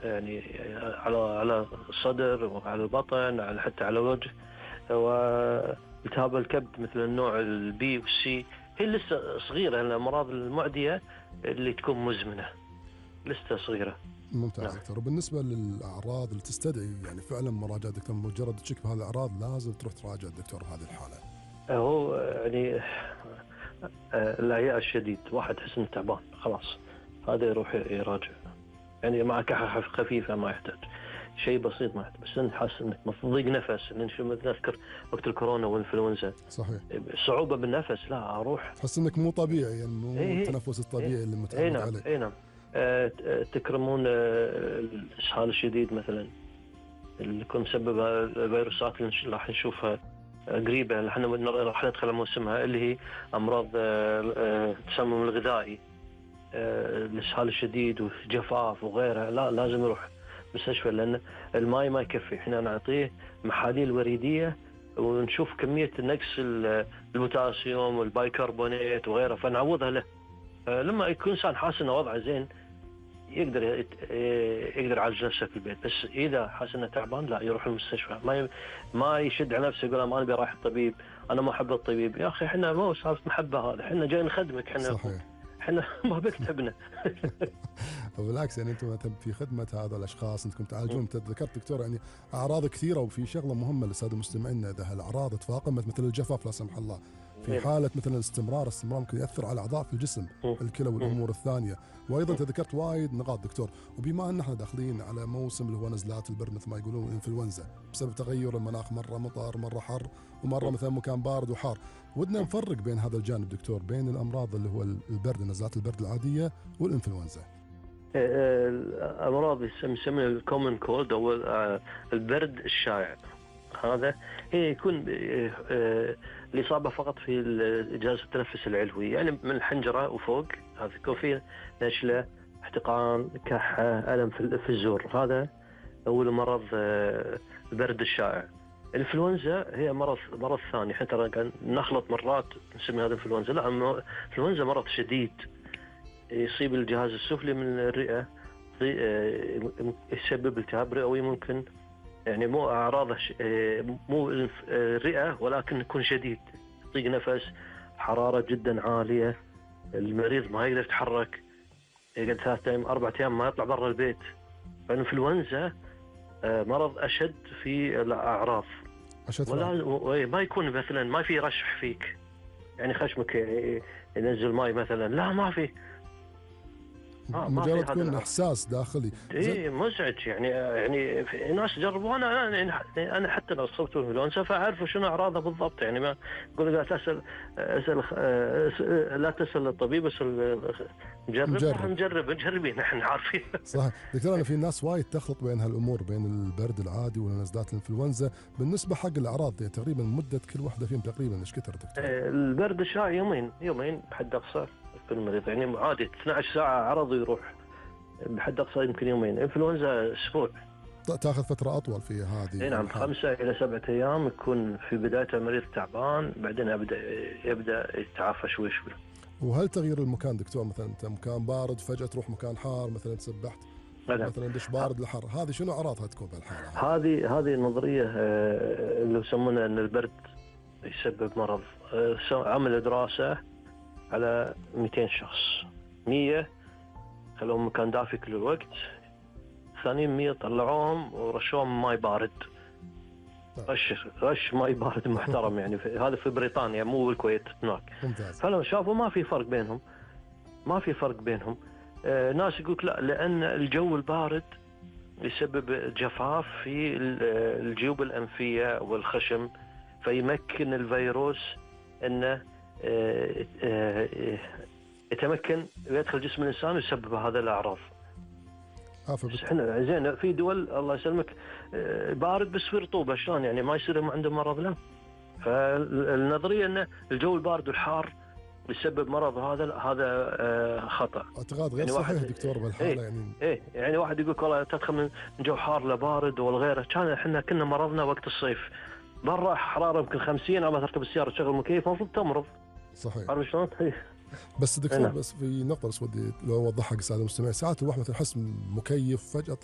يعني على الصدر وعلى البطن، حتى على الوجه. والتهاب الكبد مثل النوع البي والسي هي لسه صغيرة، الأمراض المعدية اللي تكون مزمنة لسه صغيرة. ممتاز نعم. دكتور. وبالنسبة للأعراض اللي تستدعي يعني فعلا مراجعة دكتور، مجرد تشك بهذه الأعراض لازم تروح تراجع الدكتور هذه الحالة؟ هو يعني الإعياء الشديد، واحد تحس إنه تعبان خلاص هذا يروح يراجع، يعني مع كحة خفيفة ما يحتاج شيء بسيط، ما يحتاج بس انت حاسس انك ضيق نفس، لان شو نذكر وقت الكورونا والانفلونزا صحيح. صعوبة بالنفس، لا اروح تحس انك مو طبيعي، يعني مو ايه التنفس الطبيعي اللي ايه متعود نعم عليه. ايه نعم. تكرمون الاسهال الشديد مثلا اللي يكون مسببها الفيروسات اللي راح نشوفها قريبة، احنا راح ندخل موسمها، اللي هي امراض التسمم الغذائي، الاسهال الشديد وجفاف وغيرها. لا لازم يروح مستشفى، لان الماء ما يكفي. احنا نعطيه محاليل وريديه ونشوف كميه نقص البوتاسيوم والبايكربونات وغيره فنعوضها له. لما يكون انسان حاسس انه وضعه زين يقدر يعالج نفسه في البيت، بس اذا حاسس انه تعبان لا يروح المستشفى. ما يشد على نفسه يقول ما ابي رايح الطبيب، انا ما احب الطبيب. يا اخي احنا مو سالفه محبه، هذا احنا جاي نخدمك، احنا ما بك تعبنا. وبالعكس يعني انتم في خدمه هذا الاشخاص انكم تعالجون. انت ذكرت دكتور يعني اعراض كثيره، وفي شغله مهمه للساده المستمعين، اذا الاعراض تفاقمت مثل الجفاف لا سمح الله، في حاله مثلا الاستمرار ممكن ياثر على اعضاء في الجسم، الكلى والامور الثانيه. وايضا انت ذكرت وايد نقاط دكتور. وبما ان احنا داخلين على موسم اللي هو نزلات البرد مثل ما يقولون الانفلونزا، بسبب تغير المناخ، مره مطر مره حر ومره مثلا مكان بارد وحار، ودنا نفرق بين هذا الجانب دكتور، بين الامراض اللي هو البرد، نزلات البرد العاديه والانفلونزا. الامراض يسمونها الكومن كولد او البرد الشائع، هذا هي يكون الاصابه فقط في الجهاز التنفس العلوي، يعني من الحنجره وفوق، هذا يكون فيه نشله، احتقان، كحه، الم في الزور. هذا هو المرض البرد الشائع. الانفلونزا هي مرض ثاني، حتى نخلط مرات نسمي هذا انفلونزا، لا الانفلونزا مرض شديد يصيب الجهاز السفلي من الرئة، يسبب التهاب رئوي ممكن، يعني مو أعراضه مو الرئة ولكن يكون شديد، ضيق نفس، حرارة جدا عالية، المريض ما يقدر يتحرك، يقعد 3 أيام 4 أيام ما يطلع برا البيت. فالإنفلونزا مرض أشد في الأعراض، ولا ما يكون مثلا ما في رشح فيك، يعني خشمك ينزل ماي مثلا، لا ما في، مجرد تكون احساس داخلي مزعج. يعني في ناس جربوا، انا حتى لو صبت بالانفلونزا فاعرف شنو اعراضها بالضبط، يعني ما اقول لا تسال لا تسال الطبيب، اسال مجربين احنا عارفين. صح دكتور. انا في ناس وايد تخلط بين هالامور، بين البرد العادي ونزلات الانفلونزا. بالنسبه حق الاعراض يعني تقريبا مده كل واحده فيهم تقريبا ايش كثر دكتور؟ البرد الشائع يومين بحد اقصى في المريض، يعني عادي 12 ساعه عرض ويروح، بحد اقصى يمكن يومين. انفلونزا اسبوع، تاخذ فتره اطول في هذه. نعم 5 إلى 7 أيام، يكون في بدايته المريض تعبان، بعدين يبدا يتعافى شوي شوي. وهل تغيير المكان دكتور، مثلا انت مكان بارد فجاه تروح مكان حار، مثلا تسبحت مثلا دش بارد لحر، هذه شنو اعراضها تكون بالحاله؟ هذه النظريه اللي يسمونها ان البرد يسبب مرض. عملوا دراسه على 200 شخص، 100 خلوهم مكان دافي كل الوقت، ثانيين 100 طلعوهم ورشوهم ماء بارد، رش ماء بارد محترم، يعني هذا في بريطانيا مو بالكويت هناك. فلو شافوا ما في فرق بينهم. ناس يقولك لا، لأن الجو البارد يسبب جفاف في الجيوب الأنفية والخشم، فيمكن الفيروس أنه يتمكن ويدخل جسم الإنسان ويسبب هذا الأعراض. احنا زين في دول الله يسلمك بارد بس في رطوبة، شلون يعني ما يصير عندهم مرض؟ لا. فالنظرية أن الجو البارد والحار يسبب مرض، هذا خطأ، اعتقاد غير يعني صحيح دكتور بالحالة. يعني واحد يقول والله تدخل من جو حار لبارد والغيره، كان احنا كنا مرضنا وقت الصيف برا حرارة يمكن 50، أما تركب السيارة تشغل مكيف المفروض تمرض. صحيح. عارف شلون؟ بس دكتور بس في نقطة بس ودي لو أوضحها للسادة المستمعين. ساعات الواحد مثلا يحس مكيف فجأة